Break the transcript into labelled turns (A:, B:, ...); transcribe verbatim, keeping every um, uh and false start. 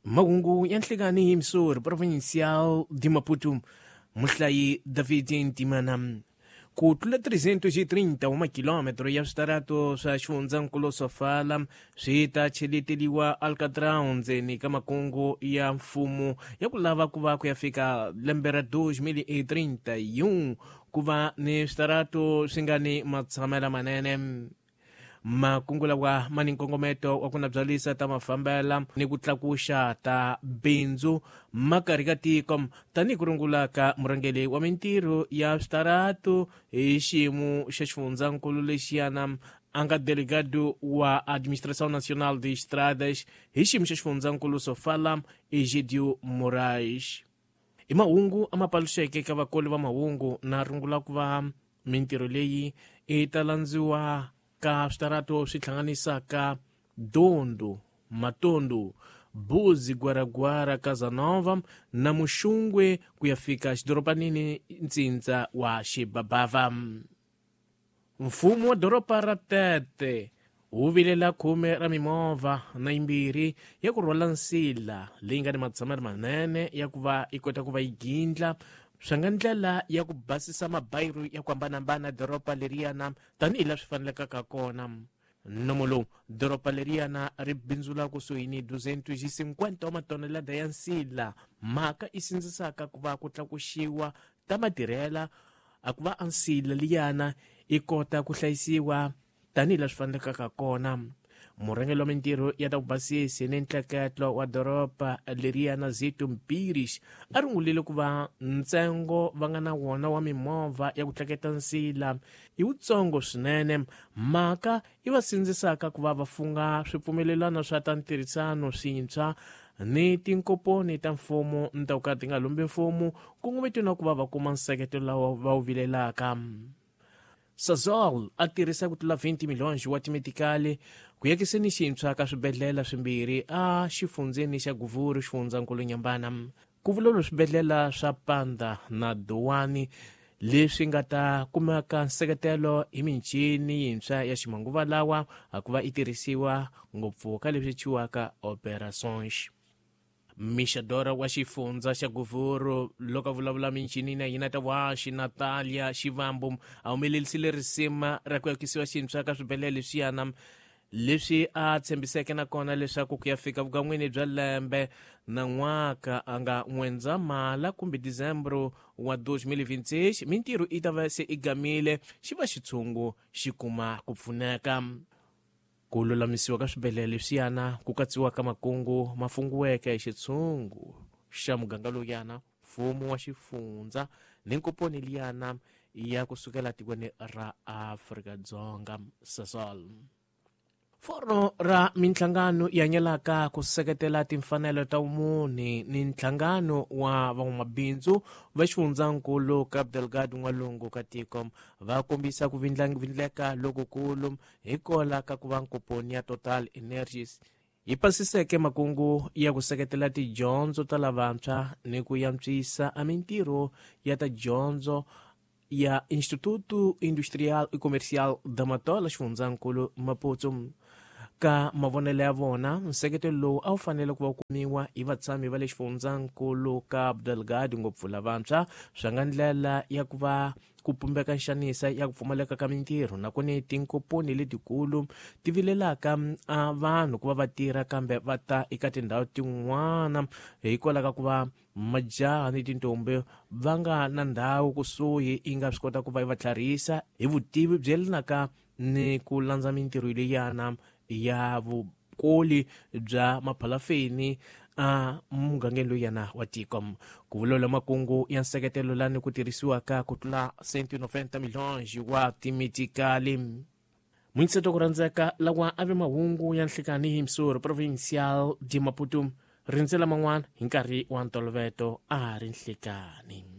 A: Mahungu ya nhlikani hi Missouri Provincial de Maputo, muhlayi David Ntimana. Ku tlula trezentos e trinta wa makilometro ya switarato swa xifundzankulu Sofala swi ta cheleteliwa Alcatrão ndzeni ka makungu ya mfumo ya ku lava ku va ku ya fika lembe ra dois mil e trinta e um ku va ni switarato swi nga ni matshamela manene. Makungu lawa ma ni nkongometo wa ku nabyalisa ta mafambela ni ku tlakuxa ta bindzu makarhi ka tiko tanihi ku rungula ka murhangeri wa mintirho ya switarato hi xiyimo xa xifundzankulu lexiyana a nga delegado wa Administração Nacional de Estradas hi xiyimo xa xifundzankulu Sofala, Egidio Moraes. I mahungu a ma paluxeke ka vakoli va mahungu na rungula ku va mintirho leyi i ta landziwa ka switarato swi hlanganisaka Dondo, Matondo, Buzi, Guaragwara, Casanova na Muxungwe ku ya fika xidorobanini ntsindza wa Xibabava. Mfumo wa doroba ra Tete wu vilela khume ra mimovha na yimbirhi ya ku rhwala nsila leyi nga ni matshamelo manene ya ku va yi kota ku va yi gindla swi nga ndlela ya ku basisa mabayiru ya ku hambanahambana doroba leriyana tanihi laha swi fanelekaka kona. Nomo lowu doroba leriyana ri bindzula kusuhi ni duzentos e cinquenta wa matonelada ya nsila, mhaka i sindzisaka ku va ku tlakuxiwa ta matirhela a ku va a nsila liyana i kota ku hlayisiwa tanihi laha swi fanelekaka kona. Murhangeri wa mintirho ya ta ku basisi ni ntleketlo wa doroba leriyana Zito Mpirish a rungulile ku va ntsengo va nga na wona wa mimovha ya ku tleketa nsila i wutsongo swinene, mhaka i va sindzisaka ku va va funga swipfumelelano swa ta ntirhisano swintshwa ni tinkomponi ta mfumo ni ta ku ka ti nga lombi mfumo kongometiwa na ku va va kuma nseketelo lawa va wu vilelaka. Sasol a tirhisa ku tlula vinte milhões wa timetikali ku yakiseni xintshwa ka swibedhlele swimbirhi a xifundzeni xa Guvuru xifundzankulu Nyambana. Ku vulavula swibedhlele swa Panda na Dowani leswi nga ta kumeka nseketelo hi michini yintshwa ya ximanguva lawa a ku va yi tirhisiwa ngopfu ka leswi thyiwaka operations. Mixadora wa xifundza xa Guvuru loko a vulavula michini na yina ta waxi Natalia Xivambu a humelerisile risima ra ku yakisiwa xintshwa ka swibedhlele leswiyana leswi a tshembiseke na kona leswaku ku ya fika vukan'wini bya lembe na n'waka a nga N'wendzamhala kumbe Dezembro wa dois mil e vinte e seis mintirho yi ta va se i gamile xi va xitshungu xi kuma ku pfuneka. Ku lulamisiwa ka swibedhlele leswiyana ku katsiwa ka makungu ma fungiweke hi xitshungu xa muganga lowuyana mfumo wa xifundza ni nkomponi liyana ya kusukela tikweni ra Afrika-Dzonga Sasol. Foro ra minhlangano yi hanyelaka ku seketela timfanelo ta vumunhu ni nhlangano wa van'wamabindzu va xifundzankulu Cabo Delgado n'walungu ka tiko va kombisa ku vindleka lokukulu hikola ka ku va nkomponi ya Total Energies yi pasiseke makungu ya ku seketela tidyondzo ta lavantshwa ni ku antswisa a mintirho ya ta dyondzo ya Instituto Industrial e Comercial da Matola xifundzankulu Maputo. Ka mavonelo ya vona nseketelo lowu a wu fanele ku va kumiwa hi vatshami va le xifundzankulu Cabo Delgado ngopfu lavantshwa swi nga ndlela ya ku va ku pumbeka nxanisa ya ku pfumaleka ka mintirho nakona tinkomponi letikulu ti vilelaka a vanhu ku va va tirha kambe va ta eka tindhawu tin'wana hikwalaho ka ku va majaha ni tintombi va nga na ndhawu kusuhi yi nga swi kota ku va yi va tlharihisa hi vutivi byi yelanaka ni ku landza mintirho leyana ya vukoli bya maphalafeni a mugangeni lowuyana wa tiko. Ku vulavula makungu ya nseketelo lani ku tirhisiwaka ku tlula cento e noventa milhões wa timetikali. Muinseto ku rhandzeka lawa a ve mahungu ya nhlikani hi Missouri Provincial de Maputo rindzela man'wana hi nkarhi wa ntolovelo a ri nhlikani.